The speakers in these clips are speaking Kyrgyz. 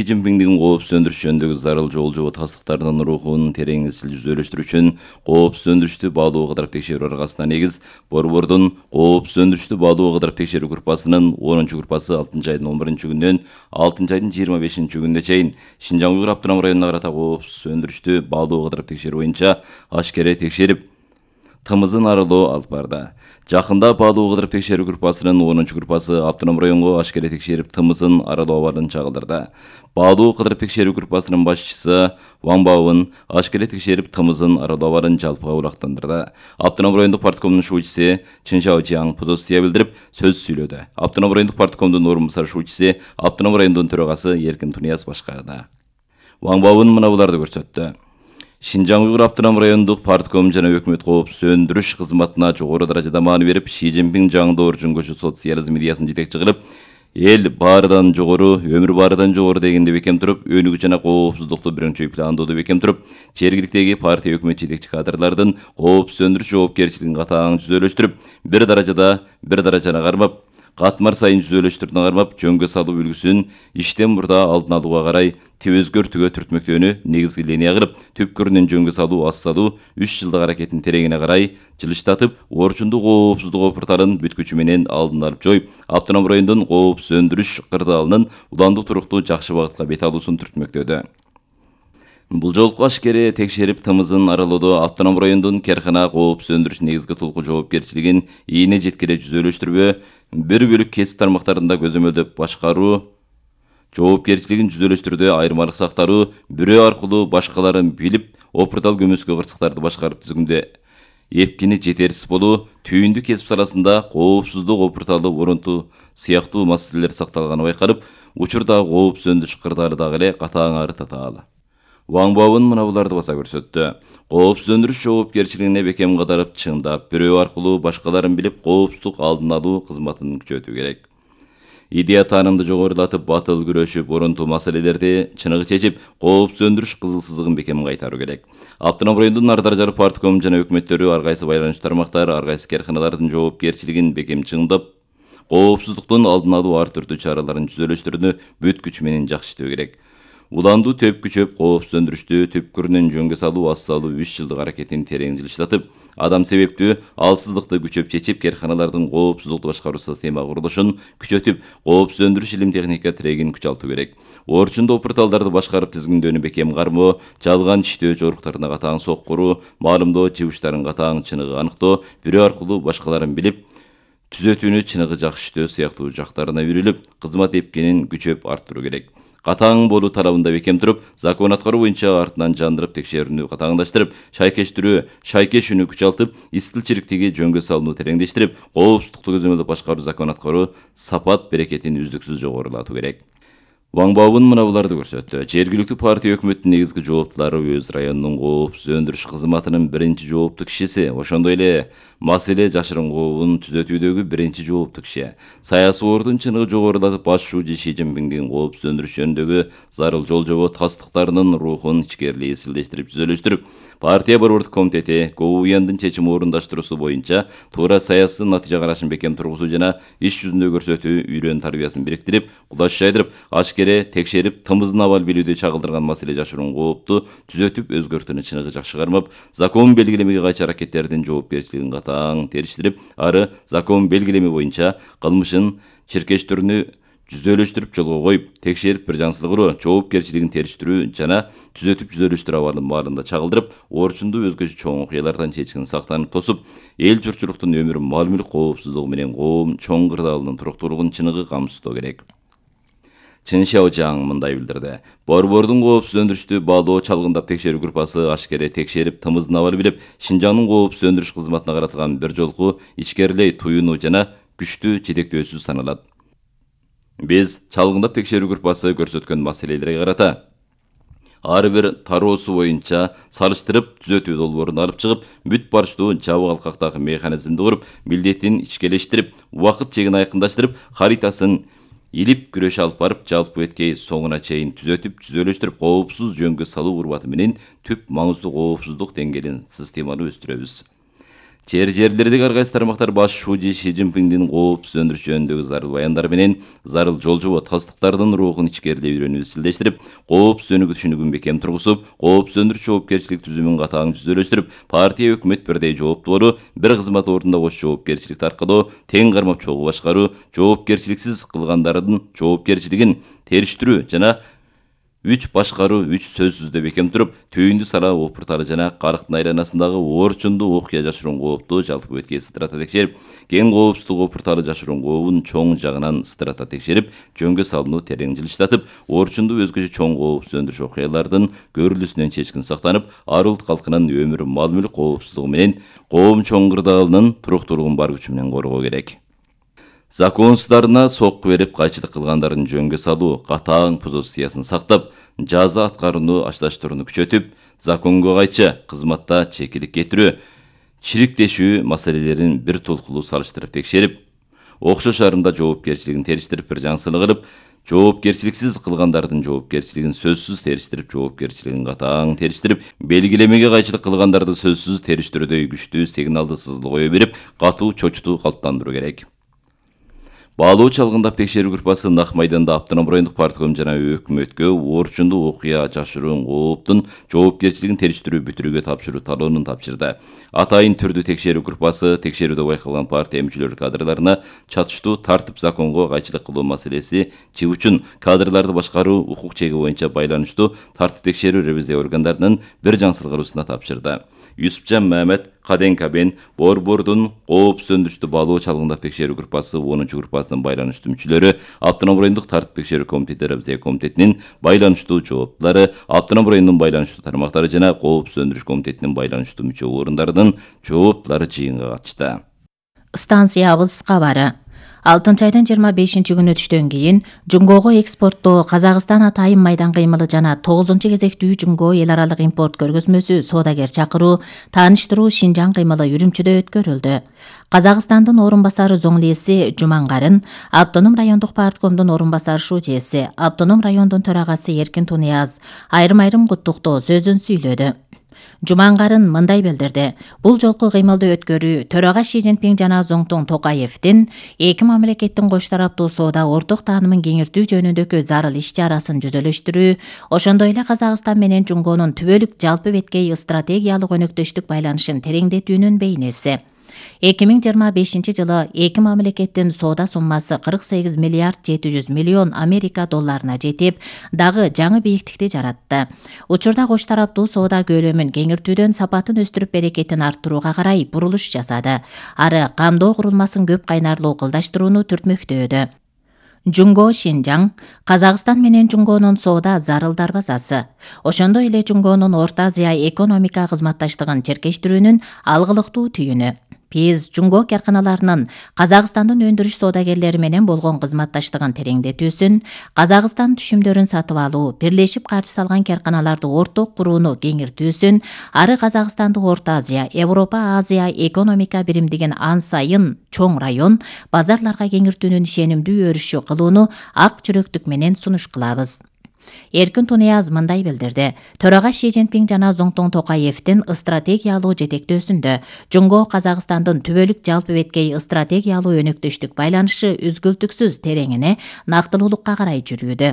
Си Цзиньпиндин коопсуз өндүрүш жөнүндөгү зарыл жол жобо тастыктарынын рухун терең изил жүзөлөштүрүү үчүн коопсуз өндүрүштү баалуу кыдырып текшерүү аркасында негиз Борбордун коопсуз өндүрүштү баалуу кыдырып текшерүү группасынын 10-чу группасы 6-айдын 11-күнүнөн 6-айдын 25-күнүнө чейин Шинжаң Уйгур автономдук районуна карата коопсуз өндүрүштү баалуу кыдырып текшерүү боюнча ашкере текшерип тымызын аралоо алып барды. Жакында баалуу кыдырып текшерүү группасынын 10-чу группасы автономдук районго ашкере текшерип тымызын аралоо абалын чагылдырды. Баалуу кыдырып текшерүү группасынын башчысы Ван Баобун ашкере текшерип тымызын аралоо абалын жалпы кабыл автономдук райондук парткомдун шуучусы Чын Шаожиң позиция билдирип сөз сүйлөдү. Автономдук райондук парткомдун орун басар шуучусы автономдук райондун төрагасы Эркин Тунияз башкарды. Ван Баобун мына буларды көрсөттү. Шинжаң Уйгур автономдук райондук партком жана өкмөт коопсуз өндүрүш кызматына жогору даражада маани берип, Си Цзиньпин жаңдоо өрчүнгөчү социализм идеясын жетекчи кылып, эл баарыдан жогору, өмүр баарыдан жогору дегенди бекем туруп, өнүгүү жана коопсуздукту биринчи пландоодо бекем туруп, жергиликтеги партия өкмөт жетекчи кадрлардын коопсуз өндүрүш жоопкерчилигин катаң түзөлөштүрүп, бир даражаны кармап, катмар сайын түзөлөштөрүнө кармап, жөнгө салуу үлгүсүн иштен мурда алдын алууга карай өзгөртүүгө түртмөктөөнү негизги линия кылып, түпкүрүнөн жөнгө салуу, ас салуу 3 жылдык аракеттин тереңине карай жылыштатып, орчундук коопсуздук опурталын бүт күчү менен алдын алып жоюп, автономдук райондун коопсуз өндүрүш кырдаалынын уландуу туруктуу жакшы багытка бет алуусун түртмөктөдү. Бул жолку ашкере текшерип тымызын аралоодо автономдук райондун Керкана коопсуз өндүрүш негизги тулку жоопкерчилигин ийине жеткире жүзөлөштүрбө, бир бөлүк кесип тармактарында көзөмөлдөп башкаруу жоопкерчилигин жүзөлөштүрүүдө айырмалык сактаруу, бирөө аркылуу башкаларын билип, опуртал көмөскө кырсыктарды башкарып түзгөндө эпкини жетерсиз болуу, түйүндү кесип саласында коопсуздук опурталы орунтуу сыяктуу маселелер сакталганы байкалып, учурдагы коопсуз өндүрүш кырдаалы дагы эле катаң ары татаал. Ван Баобун мына буларды баса көрсөттү. Коопсуз өндүрүш жоопкерчилигине бекем кадарып, чыңдап, бирөө аркылуу башкаларын билип, коопсуздук алдын алуу кызматын күчөтүү керек. Идея таанымды жогорулатып, батыл күрөшүп, орунтуу маселелерди чыныгы чечип, коопсуз өндүрүш кызыл сызыгын бекем кайтаруу керек. Автономдук райондун ар даражалуу партком жана өкмөттөрү ар кайсы байланышчу тармактар, ар кайсы керканалардын жоопкерчилигин бекем чыңдап, коопсуздуктун алдын алуу ар түрдүү чараларын жүзөлөштүрүүнү бүт күчү менен жакшы иштөө керек. Уландуу төп күчөп, коопсуз өндүрүштү түпкүрүнөн жөнгө салуу, ас салуу 3 жылдык аракетин терең жылыштатып, адам себептүү алсыздыкты күчөп чечип, керканалардын коопсуздукту башкаруу система курулушун күчөтүп, коопсуз өндүрүш илим техника тирегин күч алтуу керек. Орчундуу опурталдарды башкарып түзгүндөнү бекем кармоо, жалган иштөө жоруктарына катаң соккуруу, маалымдоо чыгыштарын катаң чыныгы аныктоо, бирөө аркылуу башкаларын билип, түзөтүүнү чыныгы жакшы иштөө сыяктуу жактарына үйрүлүп, кызмат эпкинин күчөп арттыруу керек. Катаң болуу талабында бекем туруп, закон аткаруу боюнча артынан жандырып текшерүүнү катаңдаштырып, шайкештүүнү күчалтып, истилчиликтеги жөнгө салууну тереңдештирип, коопсуздукту көзөмөлдөп башкаруу, закон аткаруу сапат берекетин үздүксүз жогорулатуу керек. Ван Баобун мына буларды көрсөттү. Жергиликтүү партия өкмөттүн негизги жооптулары өз районунун коопсуз өндүрүш кызматынын биринчи жооптуу кишиси, ошондой эле маселе жашырунгуун түзөтүүдөгү биринчи жооптуу киши. Саясий ордун чыныгы жогорулатып, баш шуучу Си Цзиньпиндин коопсуз өндүрүш жөнүндөгү зарыл жол жобо тастыктарынын рухун ичкерилей изилдештирип түзөлөштүрүп, партия борбордук комитети КОУЯндын чечим орундаштыруусу боюнча туура саясий натыйжа карашын бекем тургузуу жана иш жүзүндө көрсөтүү үйрөн тарбиясын бириктирип, кудаш жайдырып, ашкере текшерип, тымыздын абал билүүдө чагылдырган маселе жашыруун коопту түзөтүп, өзгөртүүнү чыныгы жакшы кармап, закон белгилемеге кайчы аракеттердин жоопкерчилигин катаң териштирип, ары закон белгилеме боюнча кылмышын чиркештөрүнү жүзөлөштүрүп жолго коюп, текшерип бир жансылык уруу, жоопкерчилигин териштирүү жана түзөтүп жүзөлөштүрүү абалын маалында чагылдырып, орчундуу өзгөчө чоң окуялардан чечкин сактанып тосуп, эл журтчулуктун өмүр, мал мүлк коопсуздугу менен коом чоң кырдаалынын туруктуулугун чыныгы камсыздоо керек. Чын Шаожиң мындай билдирди. Борбордун коопсуз өндүрүштү баалоо чалгындап текшерүү группасы ашкере текшерип, тымыздын абалы билип, Шинжаңдын коопсуз өндүрүш кызматына каратылган бир жолку ичкерилей туюунуу жана күчтүү жетектөөсү саналат. Биз чалгындап текшерүү группасы көрсөткөн маселелерге карата ар бир тароосу боюнча салыштырып, түзөтүү долбоорун алып чыгып, бүт барыштуу жабык алкактагы механизмди куруп, милдетин ичкелештирип, убакыт чегин айкындаштырып, харитасын илип күрөш алып барып, жалпы эткей соңуна чейин түзөтүп, түзөлөштүрүп, коопсуз жөнгө салуу урбаты менен түп маңыздуу коопсуздук деңгээлин системалуу өстүрөбүз. Жерлердеги ар кайсы тармактар баш шууji Ши Цзиньпиндин коопсуз өндүрүш жөнүндөгү зарыл баяндары менен зарыл жол жобо тастыктардын рухун ичкерилеп үйрөнүп изчилдештирип, коопсуз өнүгүү түшүнүгүн бекем тургузуп, коопсуз өндүрүш жоопкерчилик түзүмүн катаң түзөлөштүрүп, партия өкмөт бирдей жооптуулу, бир кызмат ордунда кош жоопкерчилик таркалоо, тең кармап чогуу башкаруу, жоопкерчиликсиз кылгандардын жоопкерчилигин териштирүү жана 3 башкаруу 3 сөзсүздө бекем туруп, түйүндү сала опурталы жана карыктын айланасындагы оорчунду окуя жашыруун коопду жалпы беткей сыдырата текшерип, кен коопсуздук опурталы жашыруун кообун чоң жагынан сыдырата текшерип, жөнгө салууну терең жылыштатып, оорчунду өзгөчө чоң коопсуз өндүрүш окуялардын көрүлүүсүнөн чечкин сактанып, ар улут калкынын өмүр, мал мүлк коопсуздугу менен коом чоң кырдаалынын туруктуулугун бар күчү менен коргоо керек. Законсуздарына сокку берип кайчылык кылгандардын жөнгө салуу, катаң позициясын сактап, жаза аткарууну ачлаштырууну күчөтүп, законго кайчы кызматта чекилик кетирүү, чириктешүү маселелерин бир толкулуу салыштырып текшерип, окшош арымда жоопкерчилигин териштирип, бир жаңсылык кылып, жоопкерчиликсиз кылгандардын жоопкерчилигин сөзсүз териштирип, жоопкерчилигин катаң териштирип, белгилемеге кайчылык кылгандарды сөзсүз териштирүүдөй күчтүү сигналды сызыл кое берип, катуу чочутуу калыптандыруу керек. Баалоо чалгындап текшерүү группасы Нак майданда Автоном райондук партком жана өкмөткө оорчунду окуя жашыруун кооптун жоопкерчилигин териштирүү бүтүрүүгө тапшыруу талоонун тапшырды. Атайын түрдүү текшерүү группасы текшерүүдө байкалган партия мүчөлөрү кадрларына чатыштуу тартип законго кайчылык кылуу маселеси чыгуучун кадрларды башкаруу укук чеги боюнча байланыштуу тартип текшерүү ревизия органдарынын бир жаңсылык кылуусуна тапшырды. Юсупжан Мамед Каден-Кабен Борбордун коопсуз өндүрүштү баалоо чалгындап текшерүү группасы 10 группасынын байланыштуу мүчөлөрү, Автоном райондук тартип текшерүү комитети ревизия комитетинин байланыштуу жооптулары, Автоном районунун байланыштуу тармактары жана коопсуз өндүрүш комитетинин байланыштуу мүчө орундардын жооптулары жыйынга катышты. Станциябыз кабары. 6 айдын 25-күнү түштөн кийин Жунгого экспорттоо Казакстан атайын майдан кыймылы жана 9-кезектүү Жунго эл аралык импорт көргөзмөсү соодагер чакыруу, тааныштыруу Шинжаң кыймылы үрүмчүдө өткөрүлдү. Казакстандын орун басары Зоңлеси Жумангарын, Автоном райондук парткомдун орун басары шужеси, Автоном райондун төрагасы Эркин Тунияз айрым куттуктоо сөзүн сүйлөдү. Жумангарын мындай билдирди. Бул жолку кыймылды өткөрүү төрага Ши Цзиньпин жана Зоңтун Токаевдин эки мамлекеттин кош тараптуу соода орток таанымын кеңиртүү жөнүндөгү зарыл иш-чарасын жүзөлөштүрүү, ошондой эле Казакстан менен Жунгонун түбөлүк жалпы беткей стратегиялык өнөктөштүк байланышын тереңдетүүнүн бейнеси. 2025 жылы эки мамлекеттин соода суммасы 48 миллиард 700 миллион Америка долларына жетип, дагы жаңы бийиктикти жаратты. Учурда кош тараптуу соода көлөмүн кеңиртүүдөн сапатын өстүрүп берекетин арттырууга карай бурулуш жасады. Ары камдоо курулмасын көп кайнарлуу кылдаштырууну түртмөктөөдү. Жунго Шинжаң Казакстан менен Жунгонун соода зарыл дарбазасы. Ошондой эле Жунгонун Орто Азия экономика кызматташтыгын черкештирүүнүн алгылыктуу түйүнү. Биз Жунго карканаларынын Казакстандын өндүрүш соодагерлери менен болгон кызматташтыгын тереңдетүүсүн, Казакстан түшүмдөрүн сатып алуу, бирлешип каржы салган карканаларды орток курууну кеңиртүүсүн, ары Казакстанды Орто Азия, Европа Азия экономика биримдигин ан сайын чоң район, базарларга кеңиртүүнүн ишенимдүү өрүшү кылууну ак жүрөктүк менен сунуш кылабыз. Эркин Тунияз мындай билдирди. Төрага Ши Цзиньпин жана Зоңтун Токаевдин стратегиялуу жетектөөсүндө Жунго Казакстандын түбөлүк жалпы беткей стратегиялуу өнөктөштүк байланышы үзгүлтүксүз тереңине, нактылуулукка карай жүрүүдө.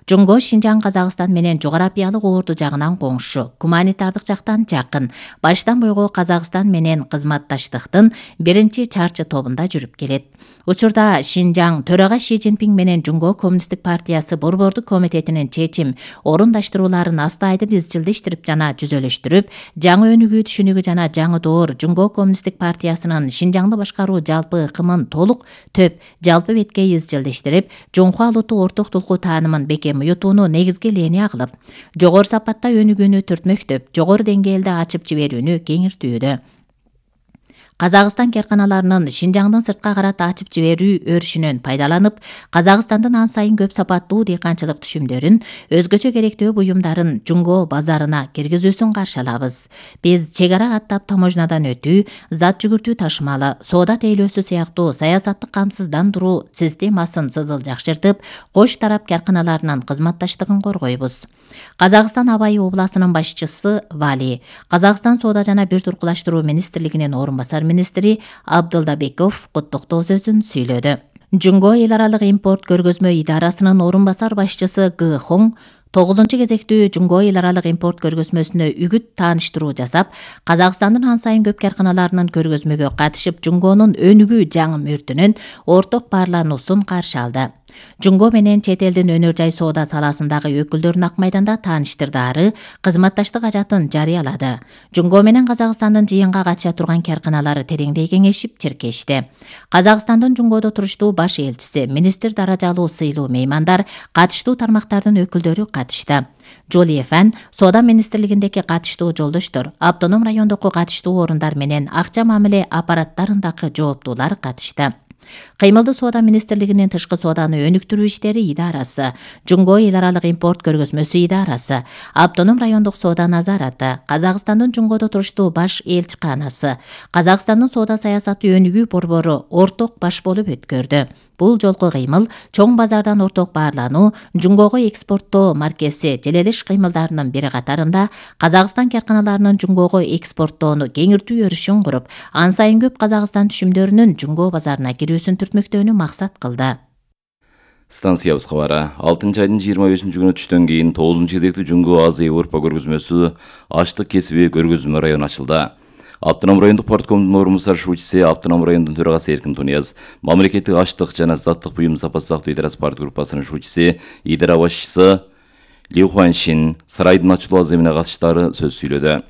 Жунго Шинжаң Казакстан менен жогорапиялык орду жагынан коңшу, гуманитардык жактан жакын, баштан бойго Казакстан менен кызматташтыктын биринчи чарчы тобунда жүрүп келет. Учурда Шинжаң төрага Ши Цзиньпин менен Жунго коммунисттик партиясы борбордук комитетинин чечим орундаштырууларын астайдын изчилдештирип жана жүзөлөштүрүп, жаңы өнүгүү түшүнүгү жана жаңы доор Жунго коммунисттик партиясынын Шинжаңды башкаруу жалпы ыкымын толук төп жалпы беткей изчилдештирип, Жунхуа улуттук ортоктулку таанымын бекем уютууну негизги линия кылып, жогору сапатта өнүгүүнү түртмөктөп, жогору деңгээлде ачып жиберүүнү кеңиртүүдө. Казакстан карканаларынын Шинжаңдын сыртка карата ачып жиберүү өрүшүнөн пайдаланып, Казакстандын ан сайын көп сапаттуу дыйканчылык түшүмдөрүн, өзгөчө керектүү буюмдарын Жунго базарына киргизүүсүн каршы алабыз. Биз чек ара каттап таможнядан өтүү, зат жүгүртүү ташымалы, соода тейлөөсү сыяктуу саясаттык камсыздандыруу системасын сызыл жакшыртып, кош тарап карканаларынын кызматташтыгын коргойбуз. Казакстан Абай областынын башчысы Вали, Казакстан соода жана бир туркулаштыруу министрлигинин орун басары министри Абдылдабеков куттуктоо сөзүн сүйлөдү. Жумго эл аралык импорт көргөзмө идарасынын орун басар башчысы Г. Хong 9-кезектүү Жумго эл аралык импорт көргөзмөсүнө үгүт тааныштыруу жасап, Казакстандын ан сайын көп карканаларынын көргөзмөгө катышып, Жумгонун өнүгүү жаңы мөрдүнүн орток баарлануусун каршы алды. Жумго менен чет элдин өнөр жай соода саласындагы өкүлдөрүн Ак майданда тааныштырды, ары кызматташтык ажатын жарыялады. Жумго менен Казакстандын жыйынга катыша турган карканалары тереңдей кеңешип, чиркешти. Казакстандын Жумгодо туруштуу баш элчиси, министр даражалуу сыйлуу меймандар, катыштуу тармактардын өкүлдөрү катышты. Жоли Фан, Соода министрлигиндеги катыштуу жолдоштор, автоном райондогу катыштуу орундар менен акча мамиле аппараттарындагы жооптуулар катышты. Кыймылдуу соода министрлигинин тышкы сооданы өнүктүрүү иштери идарасы, Жумго эл аралык импорт көргөзмөсү идарасы, автоном райондук соода назараты, Казакстандын Жумгодо туруштуу баш элчиканасы, Казакстандын соода саясаты өнүгүү борбору орток баш болуп өткөрдү. Бул жолку кыймыл чоң базардан орток баарлануу, Жумгого экспорттоо маркеси желелеш кыймылдарынын бири катарында Казакстан карканаларынын Жумгого экспорттоону кеңиртүү өрүшүн куруп, ан сайын көп Казакстан түшүмдөрүнүн Жумго базарына кирүүсүн түртмөктөөнү максат кылды. Станциябыз кабары 6 айдын 25-күнү түштөн кийин 9-кезектүү Жумго Азия Европа көргөзмөсү аштык кесиби көргөзмө району ачылды. Автоном райондук порткомдун орун басар шуучусы, Автоном райондун төрагасы Эркин Тунияз, мамлекеттик аштык жана заттык буюм сапасы сактоо идарасы парт группасынын шуучусы, идара башчысы Ли Хуаншин сарайдын ачылуу аземине катыштары сөз сүйлөдү.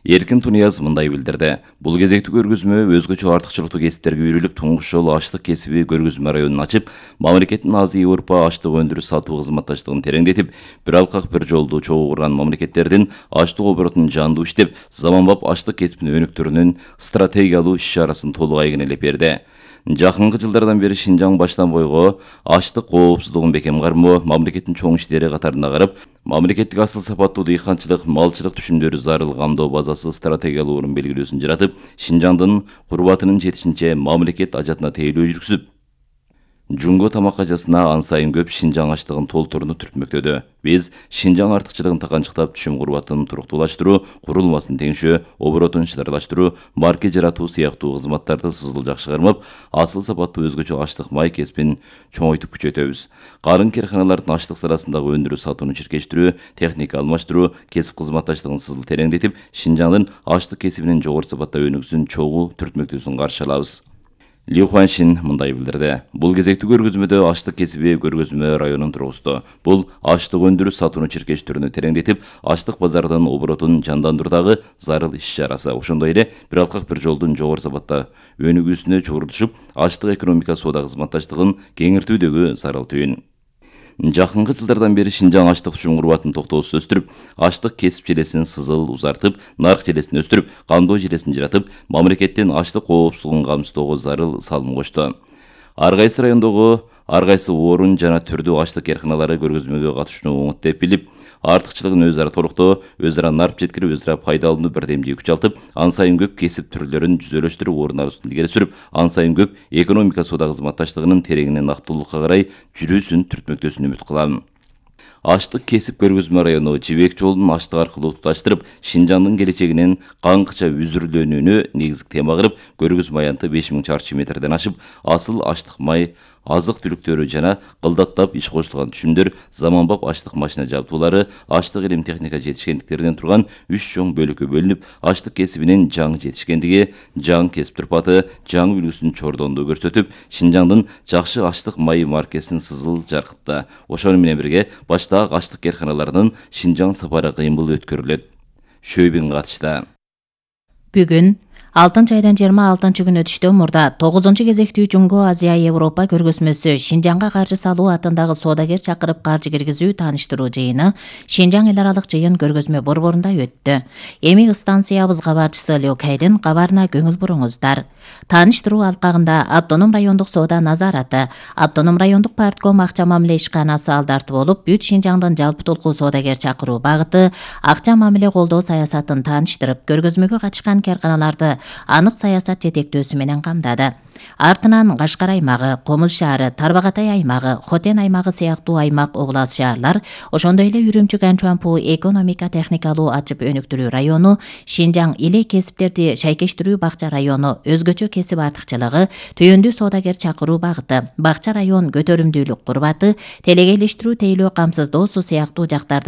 Эркин Тунияз мындай билдирди. Бул кезектүү көргөзмө өзгөчө артыкчылыктуу кесиптерге үйрүлүп, туңгуш жолу аштык кесиби көргөзмө районун ачып, мамлекеттин Азия Европа аштык өндүрүш сатуу кызматташтыгын тереңдетип, бир алкак бир жолду чогуу курган мамлекеттердин аштык оборотун жандуу иштеп, заманбап аштык кесибин өнүктүрүүнүн стратегиялуу иш-чарасын толук айгинелеп берди. Жакынкы жылдардан бери Шинжаң баштан бойго аштык коопсуздугун бекем кармоо, мамлекеттин чоң иштери катарына карап, мамлекеттик асыл сапаттуу дыйканчылык, малчылык түшүмдөрү зарыл камдоо базасы стратегиялуу орун белгилөөсүн жаратып, Шинжаңдын курбатынын жетишинче мамлекет ажатына тейлөө жүргүзүп, Жумго тамак ажасына ан сайын көп Шинжаң аштыгын толтурууну түртмөктөдү. Биз Шинжаң артыкчылыгын таканчыктап, түшүм курбатын туруктуулаштыруу, курулмасын теңшөө, оборотун чыдарлаштыруу, марке жаратуу сыяктуу кызматтарды сызыл жакшы кармап, асыл сапаттуу өзгөчө аштык май кесибин чоңойтуп күчөтөбүз. Карын карканалардын аштык саласындагы өндүрүү сатууну чиркештирүү, техника алмаштыруу, кесип кызматташтыгын сызыл тереңдетип, Шинжаңдын аштык кесибинин жогору сапатта өнүгүүсүн чогуу түртмөктөөсүн каршы алабыз. Ли Хуаншин мындай билдирди. Бул кезектүү көргөзмөдө аштык кесиби көргөзмө районун тургузду. Бул аштык өндүрүү сатууну чиркештирүүнү тереңдетип, аштык базарынын оборотун жандандыруудагы зарыл иш-чарасы. Ошондой эле бир алкак бир жолдун жогору сапатта өнүгүүсүнө чогуу түшүп, аштык экономика соода кызматташтыгын кеңиртүүдөгү зарыл түйүн. Жакынкы жылдардан бери Шинжаң аштык түшүм курбатын токтоосуз өстүрүп, аштык кесип желесин сызыл узартып, нарк желесин өстүрүп, камдоо желесин жаратып, мамлекеттин аштык коопсуздугун камсыздоого зарыл салым кошту. Ар кайсы райондогу ар кайсы орун жана түрдүү аштык карканалары көргөзмөгө катышууну оңот деп билип, артыкчылыгын өз ара толуктоо, өз ара нарп жеткирип, өз ара пайдаланууну бирдемдей күчалтып, ан сайын көп кесип түрлөрүн жүзөлөштүрүп, орун алуусун илгери сүрүп, ан сайын көп экономика соода кызматташтыгынын тереңинен актуулукка карай жүрүүсүн түртмөктөөсүн үмүт кылам. Аштык кесип көргөзмө району жибек жолун аштык аркылуу туташтырып, Шинжаңдын келечегинин каңкыча үзүрүлөнүүнү негизги тема кылып, көргөзмө аянты 5000 чарчы метрден ашып, асыл аштык май, азык түлүктөрү жана кылдаттап иш кошулган түшүмдөр, заманбап аштык машина жабдуулары, аштык илим техника жетишкендиктеринен турган 3 чоң бөлүккө бөлүнүп, аштык кесибинин жаңы жетишкендиги, жаңы кесип турпаты, жаңы үлгүсүнүн чордондугу көрсөтүп, Шинжаңдын жакшы аштык майы маркесин сызыл жаркытты. Ошону менен бирге баштагы аштык карканаларынын Шинжаң сапары кыймыл өткөрүлөт. Шөйбин катышты. Бүгүн 6 айдан 26-күнү түштөн мурда 9-кезектүү Жумго Азия Европа көргөзмөсү Шинжаңга каржы салуу атындагы соодагер чакырып каржы киргизүү тааныштыруу жыйыны Шинжаң эл аралык жыйын көргөзмө борборунда өттү. Эми станциябыз кабарчысы Лёкайдын кабарына көңүл буруңуздар. Тааныштыруу алкагында Автоном райондук соода назараты, Автоном райондук партком акча мамиле ишканасы алдарты болуп, бүт Шинжаңдын жалпы толку соодагер чакыруу багыты, акча мамиле колдоо саясатын тааныштырып, көргөзмөгө катышкан карканаларды анык саясат жетектөөсү менен камдады. Артынан Кашкар аймагы, Комуз шаары, Тарбагатай аймагы, Хотен аймагы сыяктуу аймак облас шаарлар, ошондой эле Үрүмчү Канчуанпу экономика техникалуу ачып өнүктүрүү району, Шинжаң илей кесиптерди шайкештирүү бакча району, өзгөчө кесип артыкчылыгы, түйүндүү соодагер чакыруу багыты, бакча район көтөрүмдүүлүк курбаты, телегейлештирүү тейлөө камсыздоосу сыяктуу жактарды